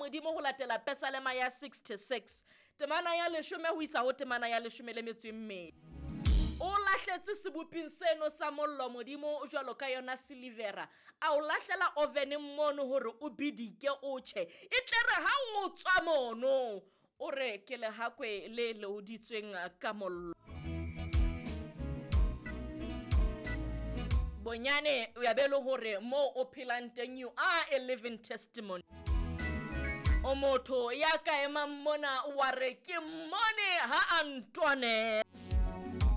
Modimo ho latela Pesalema ya 66 temana ya leshome ho isa ho temana ya leshome le metso e mmedi. O lahletse seboping seno sa mollo Modimo jwalo ka yona silivera, a o lahlela oveneng mono hore o bidike o tjhe, e tle re ha o tswa mono o re ke lehakwe le leoditsweng ka mollo. Bonyane o ya be le hore moo o phelang teng you are a living testimony. O motho ya ka emang mona wa re ke mmone ha a ntwane,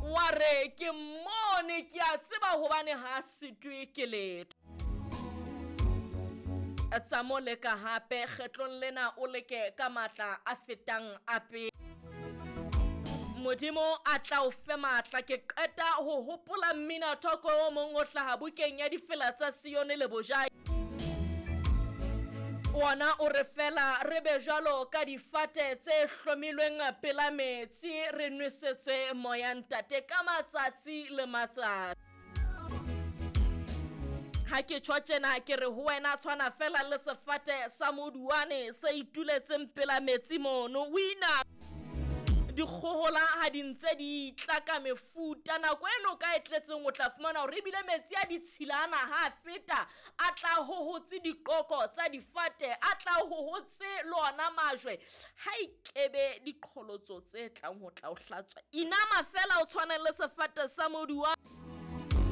wa re ke mmone ke a tseba hobane ha a sitwe ke letho. Tsa mo leka hape kgetlong lena o leke ka matla a fetang a pele. Modimo a tla o fe matla. Ke qeta ho hopola mmina thoko o mong o hlaha bukeng ya difela tsa Sione le Bojai. Ona o re fela re be jwalo ka difate tse hlomilweng pela metsi, re nwesetswe moya ntate ka matsatsi le matsatsi. Ha ke tjho tjena ke re ho wena tshwana fela le sefate sa moduwane se ituletseng pela metsi mono. O ina dikgohola ha di ntse di tla ka mefuta, nako eno ka e tletseng o tla fumana hore ebile metsi a ditshilana ha a feta a tla hohotse diqoko tsa difate, a tla hohotse le ona majwe, ha ikebe diqholotso tse tlang ho tla o hlatswa. Inama fela o tshwane le sefate sa moduwane,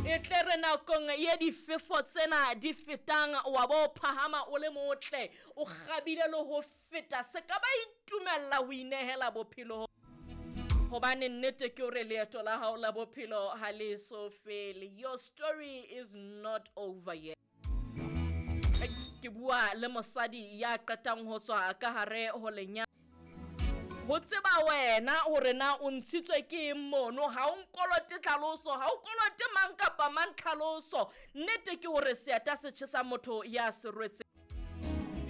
e tle re nakong ye difefo tsena di fetang wa bo phahama o le motle, o kgabile le ho feta, se ka ba itumella ho inehela bophelo. Hobane nnete ke hore leeto la hao la bophelo ha le so fele. Your story is not over yet. Ke bua le mosadi ya qetang ho tswa ka hare ho lenyalo. Ho tseba wena hore na o ntshitswe ke eng mono, ha o nkolote tlhaloso, ha o kolote mang kapa mang tlhaloso. Nnete ke hore seeta se tjhesa motho ya se rwetseng.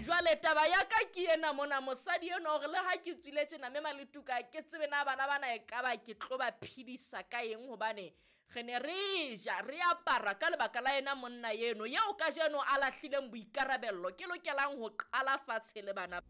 Jwale taba ya ka ke ena mona, mosadi enwa hore le ha ke tswile tjena mme Maletuka ke tsebe na bana bana e ka ba ke tlo ba phedisa ka eng, hobane re ne re ja re apara ka lebaka la ena monna eno eo kajeno a lahlileng boikarabello, ke lokelang ho qala fatshe le bana.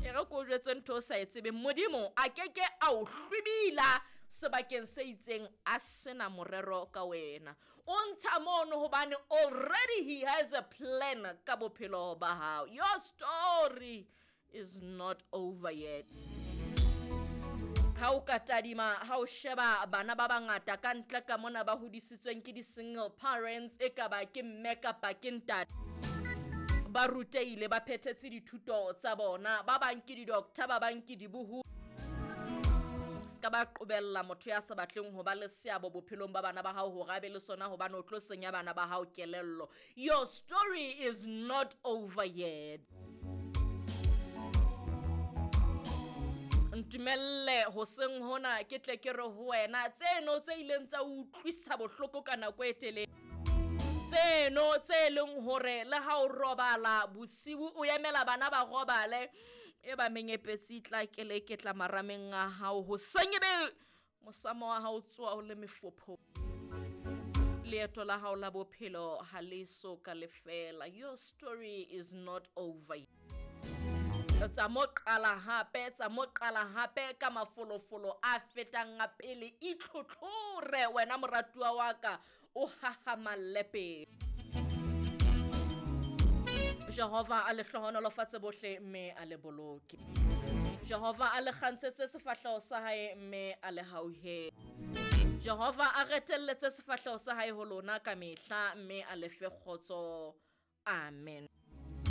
E re ko jwetse ntho o sa e tsebeng, Modimo a keke a o hlwibila sebakeng se itseng a sena morero ka wena. O ntsha mono hobane already he has a plan ka bophelo ba hao. Your story is not over yet. Ha o ka tadima, ha o sheba bana ba bangata ka ntle ka mona ba hodisitsweng ke di-single parents, e ka ba ke mme kapa ke ntate, ba rutehile, ba phethetse dithuto tsa bona, ba bang ke di-doctor, ba bang ke dibohu. Ska ba qobella motho ya sa batleng ho ba le seabo bophelong ba bana ba hao hore a be le sona, hobane o tlo senya bana ba hao kelello. Your story is not over yet. Ntumelle hoseng hona ke tle ke re ho wena tseno tse ileng tsa utlwisa bohloko ka nako e telele, tseno tse leng hore le ha o robala bosiu o emela bana ba robale, e ba menyepetsi tla keleketla marameng a hao hoseng ebe mosamo wa hao tsoa o le mefopho. Leeto la hao la bophelo ha le so ka lefela. Your story is not over. Tsa mo qala hape, tsa mo qala hape ka mafolofolo a fetang a pele. Itlhotlhore wena moratuwa wa ka, o hahamalle pele. Jehova a le hlohonolofatse bohle mme a le boloke. Jehova a le kgantshetse sefahleho sa hae mme a le hauhele. Jehova a retelletse sefahleho sa hae ho lona ka mehla mme a le fe kgotso. Amen.